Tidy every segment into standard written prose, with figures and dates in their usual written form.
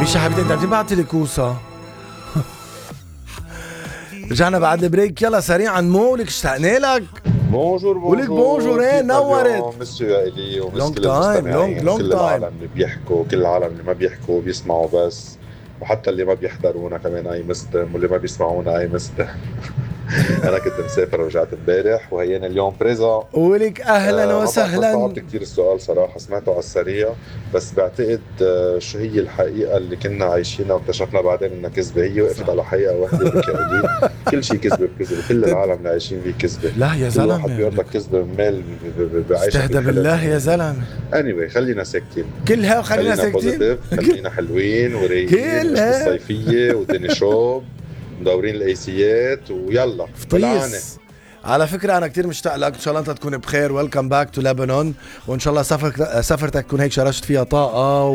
مش يا حبيبتي انت عم تبعتي لي كوسه. رجعنا بعد البريك، يلا سريعا مو لك اشتقنا لك. بونجور ولك بونجور. ايه نورت. مسيو يا الي ومس Long كل time, المستمعين، long كل time. العالم اللي بيحكوا، كل العالم اللي ما بيحكوا بيسمعوا بس، وحتى اللي ما بيحضرونا كمان اي مستم، واللي ما بيسمعونا اي مستم. انا كنت مسافر ورجعت امبارح وهينا اليوم بريزون. ولك اهلا وسهلا. صعبت كتير السؤال صراحه، سمعته على السريع، بس بعتقد شو هي الحقيقه اللي كنا عايشينها واكتشفنا بعدين انها كذبه. هي وقفت على حقيقه واحده بكائلي. كل شيء كذبه بكذبه، كل العالم اللي عايشين فيه كذبه. لا يا زلمه، كل واحد بيقول لك كذبه مال بعيش. استهدى بالله يا زلمه. anyway خلينا ساكتين، كلها وخلينا ساكتين، خلينا حلوين ورايقين الصيفيه ودني شوب مدورين الايسيات ويلا فطيس. على فكرة أنا كتير مشتاق لك، إن شاء الله أنت تكون بخير. ويلكم باك تو لبنان، وإن شاء الله سفرتك تكون هيك شرشت فيها طاقة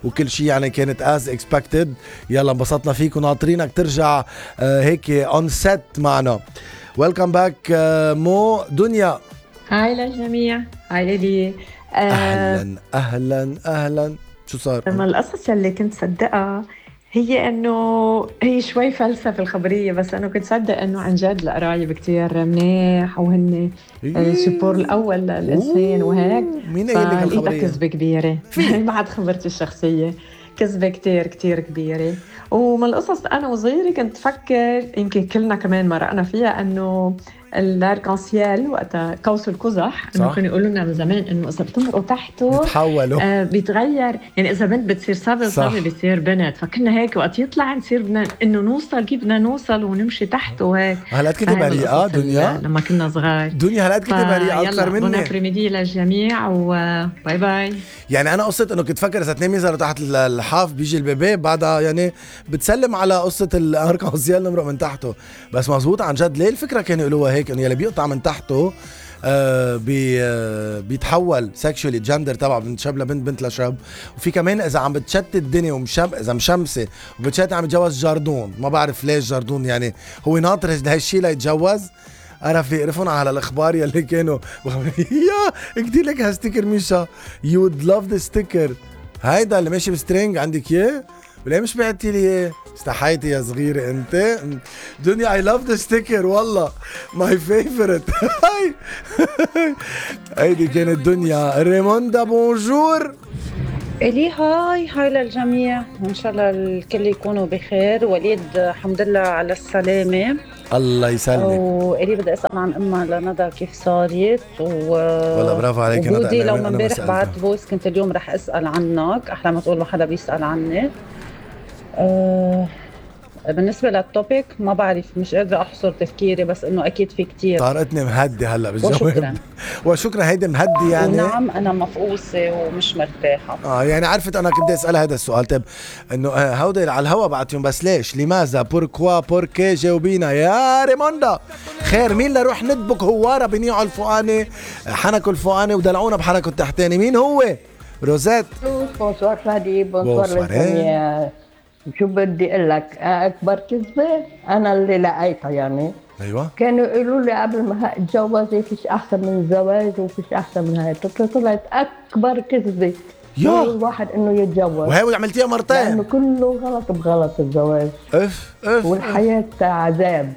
وكل شيء يعني كانت as expected. يلا انبسطنا فيك وناطرينك ترجع هيك on set معنا. ويلكم باك مو دنيا. هاي للجميع، هاي لي. أهلا أهلا أهلا. شو صار؟ لما القصص اللي كنت صدقها هي انه هي شوي فلسفه الخبريه، بس انا كنت صدق انه عن جد القرايب كتير منيح وهن السبور الاول للانسان وهيك. مين قال لك الخبريه؟ كذبه كبيره. بعد خبرتي الشخصيه كذبه كتير كتير كبيره. ومن القصص انا وصغيره كنت فكر، يمكن كلنا كمان مرقنا فيها، انه الاركانسيال وقتها قوس القزح، انه كانوا يقولوا لنا من زمان انه اذا بتمرقوا تحته بتحولوا بيتغير، يعني اذا بنت بتصير صبي وصبي بتصير بنت. فكنا هيك وقت يطلع نصير بدنا انه نوصل، كيف بدنا نوصل ونمشي تحته وهيك. هلا كنت بريئه دنيا لما كنا صغار. دنيا هلا كنت بريئه اكثر مني. بون ابريميدي للجميع وباي باي. يعني انا قصه انه كنت فكر اذا اثنين ينزلوا تحت الحاف بيجي البيبي بعدها، يعني بتسلم على قصه الاركانسيال نمرق من تحته. بس مزبوط عن جد، ليه الفكره كانوا يقولوها هيك، انه يلي بيقطع من تحته بيتحول سكشوالي جندر تبع بنت شاب لبنت، بنت لشاب. وفي كمان اذا عم بتشتت الدنيا اذا مشمسه وبتشتت عم يتجوز جاردون. ما بعرف ليش جاردون، يعني هو ناطر هالشيء ليتجوز. عرف يقرفون على الاخبار يلي كانوا يا كتير لك هالستيكر ميشا، يو وود لاف ذا ستيكر هيدا اللي ماشي بسترينج عندك اياه، ولا مش بعتي لي اياه؟ استحيتي يا صغيرة انت. دنيا اي لاف ذا ستيكر والله ماي فيفورت. هيدي كانت دنيا. ريموندا بونجور. إلي هاي للجميع، وإن شاء الله الكل يكونوا بخير. وليد الحمد لله على السلامة. الله يسلمك. وإلي بدي أسأل عن أمها لندى كيف صارت والله برافو عليك ندى. وجودي لو من امبارح بعد فويس كنت اليوم رح أسأل عنك، أحلى ما تقول ما حدا بيسأل عني. بالنسبة للتوبيك ما بعرف، مش قادرة أحصر تفكيري، بس إنه أكيد في كتير. طارتني مهدي هلا بالجواب. وشكرا هيدي مهدي يعني. نعم أنا مفقوسة ومش مرتاحة. يعني عرفت أنا كنت أسأل هذا السؤال. طيب إنه هودي على الهوا بعتهم، بس ليش لماذا بوركوا بوركي جاوبينا يا ريموندا. خير مين لروح ندبك هوارة بنيعوا الفوقاني حنكوا الفوقاني ودلعونا بحركوا التحتاني؟ مين هو؟ روزات. بونسوار فادي. بونسوار. شو بدي اقول لك، اكبر كذبه انا اللي لقيتها يعني. ايوه كانوا يقولوا لي قبل ما اتجوزي فيش احسن من الزواج وفيش احسن من هاي. طلعت اكبر كذبه الواحد انه يتجوز، وهي عملتيها مرتين لانه كله غلط بغلط الزواج. اف والحياه عذاب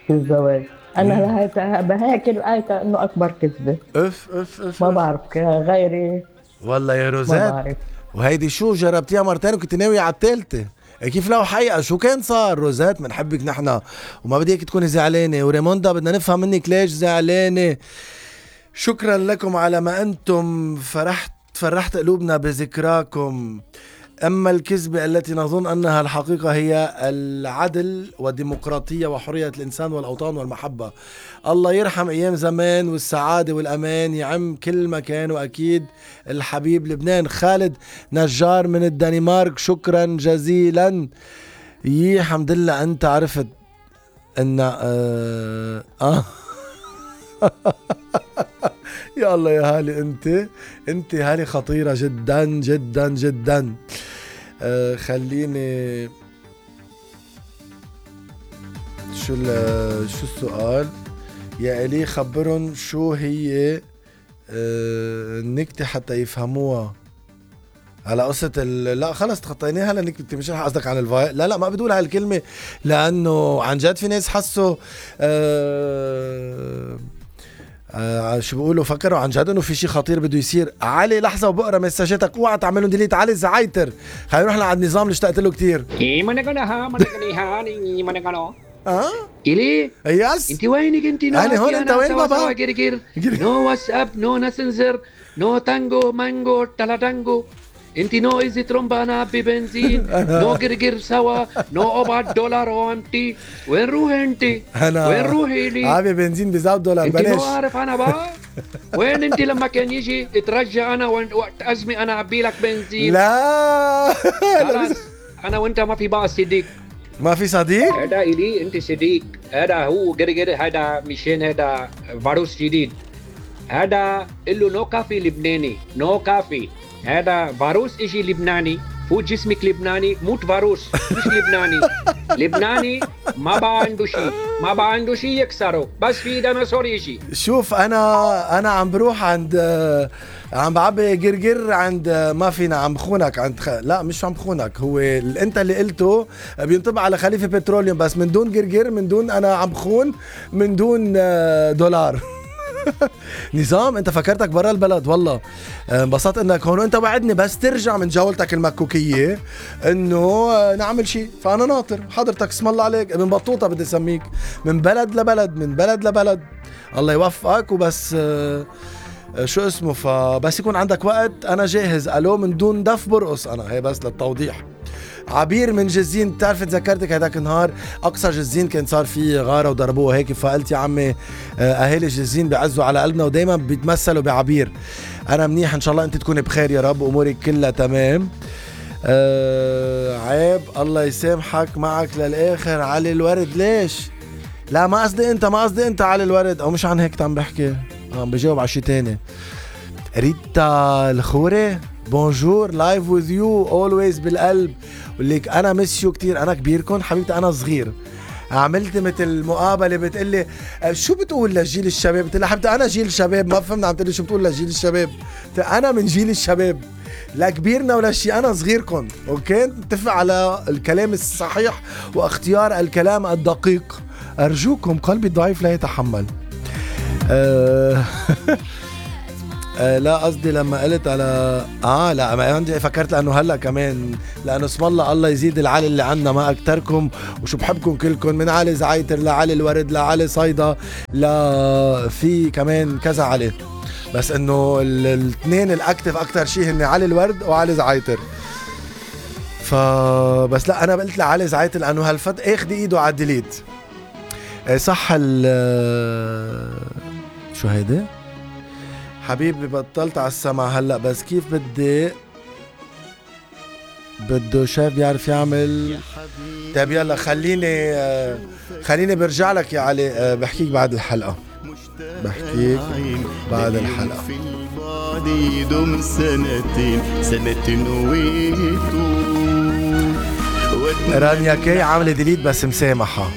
في الزواج. انا بهيك لقيتها انه اكبر كذبه. اف ما بعرف غيري والله يا روزات. ما بعرف. وهيدي شو جربتيها مرتين وكنت ناوية على الثالثة؟ كيف لو حقيقة شو كان صار؟ روزات بنحبك نحنا وما بدي اياك تكوني زعلانة، وريموندا بدنا نفهم منك ليش زعلانة. شكرا لكم على ما انتم فرحت قلوبنا بذكراكم. أما الكذبة التي نظن أنها الحقيقة هي العدل والديمقراطية وحرية الإنسان والأوطان والمحبة. الله يرحم أيام زمان والسعادة والأمان يعم كل مكان. وأكيد الحبيب لبنان. خالد نجار من الدنمارك، شكرا جزيلا. الحمد لله أنت عرفت أن يا الله يا هالي، انت هالي خطيرة جدا جدا جدا. خليني شو السؤال يا إلي؟ خبرن شو هي النكتة حتى يفهموها. على قصة لا خلص تخطيناها لانك انت مش رح قصدك عن الفايل. لا ما بدول هالكلمة لانه عن جد في ناس حسوا شو بيقولوا فكروا عن جد انه في شيء خطير بده يصير. علي لحظة وبقرا مساجاتك، اوعى تعملوا ديليت. علي زعايتر، خلينا نروح لعند النظام اللي اشتقت له كتير. إلي يس انت وينك انت؟ أنا هون، أنت وين بابا؟ نو واتساب، نو ناسنجر، نو تانجو مانجو تلاتانجو، انت نو ايزي ترومبا انا ببنزين، نو جرجر سوا، نو $4 وامتي. وين روحي انت؟ أنا وين روحي لي؟ عابي بنزين $1 انت بلاش. مو عارف انا بقى؟ وين انت لما كان يجي ترجع انا وقت ازمه انا اعبي لك بنزين؟ لا خلاص انا وانت ما في بقى صديق. ما في صديق. هذا إلي انت صديق، هذا هو جرجر، هذا مشان هذا فيروس جديد، هذا له نو كافي لبناني، نو كافي. هذا فيروس اجي لبناني، فوت جسمك لبناني، موت فيروس مش لبناني. لبناني ما بقى عنده شيء، ما بقى عنده شيء يكسره، بس في ديناصور يجي. شوف انا عم بروح عند عم بعبي جرجر عند ما فينا عم بخونك عند لا مش عم بخونك، هو انت اللي قلته بينطبق على خليفه بتروليوم، بس من دون جرجر، من دون انا عم بخون، من دون $. نظام انت فكرتك برا البلد. والله انبسطت انك هون، وانت وعدني بس ترجع من جولتك المكوكيه انه نعمل شيء، فانا ناطر حضرتك. اسم الله عليك ابن بطوطه، بدي اسميك من بلد لبلد، من بلد لبلد. الله يوفقك. وبس شو اسمه، فبس يكون عندك وقت انا جاهز. الو من دون دف برقص انا، هي بس للتوضيح. عبير من جزين، بتعرف تذكرتك هداك النهار اقصى جزين كان صار فيه غاره وضربوه هيك، فقلت يا عمي اهالي جزين بيعزوا على قلبنا ودايما بيتمثلوا بعبير. انا منيح ان شاء الله، انت تكون بخير يا رب، امورك كلها تمام. عيب الله يسامحك معك للاخر. علي الورد ليش؟ لا ما قصدي انت، ما قصدي انت علي الورد، او مش عن هيك عم بحكي، عم بجاوب على شي تاني. ريتا الخوري بونجور، لايف وذ يو اولويز بالقلب. وليك انا مسيو كتير، انا كبيركم حبيبتي، انا صغير. عملت مثل مقابله بتقلي شو بتقول لجيل الشباب؟ قلت لها حبيبتي انا جيل الشباب، ما فهمنا عم تقلي شو بتقول لجيل الشباب. انا من جيل الشباب، لا كبيرنا ولا شيء، انا صغيركم. اوكي نتفق على الكلام الصحيح واختيار الكلام الدقيق، ارجوكم. قلبي الضعيف لا يتحمل. لا قصدي لما قلت على لا ما عندي، فكرت لانه هلا كمان لانه اسم الله يزيد العلي اللي عنا ما اكتركم، وشو بحبكم كلكم، من علي زعيتر لعلي الورد لعلي صيدا، لا في كمان كذا علي، بس انه الاثنين الاكتف اكتر شيء هن علي الورد وعلي زعيتر. فبس لا انا قلت لعلي زعيتر لانه هالفت اخذ ايده على الديليت. صح شو هيدا حبيبي؟ بطلت على السمع هلا، بس كيف بده شايف بيعرف يعمل. طيب يلا خليني برجع لك يا علي، بحكيك بعد الحلقة، بحكيك بعد الحلقة. في البعد يدوم سنتين رانيا كي عاملة ديليت بس مسامحة.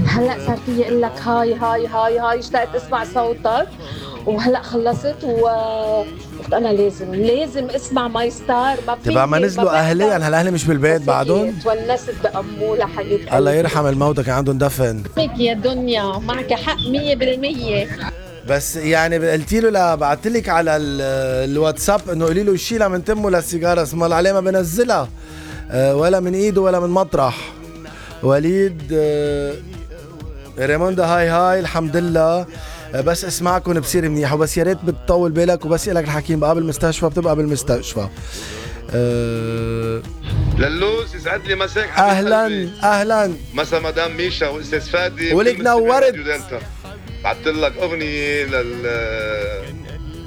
هلا صار فيي اقول لك هاي اشتقت اسمع صوتك، وهلا خلصت قلت انا لازم اسمع ماي ستار. ما في تبع ما نزلوا اهلي، يعني هالاهلي مش بالبيت بعدهم. تونست بأمولة حبيبتي، الله يرحم الموتى كان عندهم دفن. يا دنيا معك حق 100%. بس يعني قلتي له بعثت لك على الواتساب انه قولي له يشيلها من تمه للسيجاره، اسم الله عليه ما بنزلها ولا من ايده ولا من مطرح. وليد ريموندا هاي الحمد لله، بس اسمعكم بصير منيح، وبس يا ريت بتطول بالك، وبس لك الحكيم بقى بالمستشفى بتبقى بالمستشفى. للوز يسعد لي مساك. اهلا مسا مدام ميشا واستاذ فادي، ولك نورت. بعثت لك اغنيه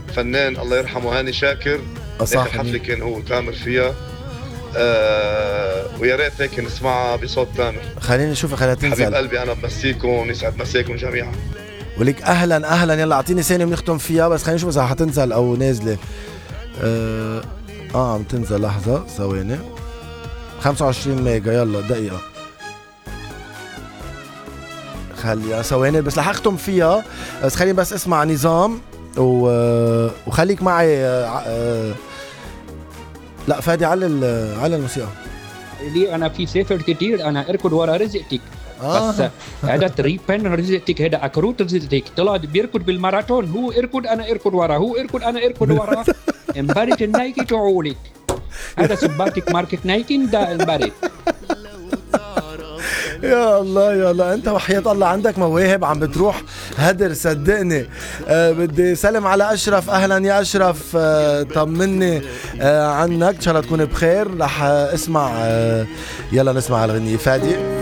للفنان الله يرحمه هاني شاكر، اخر حفله كان هو تامر فيها، ويا ريت هيك نسمعها بصوت تامر. خليني اشوفها، خليها تنزل. حبيب قلبي انا بمسيكم ويسعد مساكم جميعا. ولك اهلا يلا اعطيني ثانيه بنختم فيها، بس خلينا نشوف اذا حتنزل او نازله. عم تنزل، لحظه ثواني. 25 ميجا، يلا دقيقه خليها ثواني بس رح اختم فيها، بس خليني بس اسمع نظام وخليك معي. لا فادي على الموسيقى. لي انا في سفر كتير انا اركض ورا رزقتك. بس هذا تريبن رزقتك، هذا اكروت رزقتك، طلع بيركض بالماراثون، هو اركض انا اركض وراه، هو اركض انا اركض وراه. انبرت النايكي تعولك، هذا سباتك ماركة نايكي دا انبرت. يا الله يا الله، انت وحياة الله عندك مواهب عم بتروح هدر صدقني. بدي سلم على اشرف. اهلا يا اشرف، طمني عنك، ان شاء الله تكون بخير. رح اسمع يلا نسمع الغنية فادي.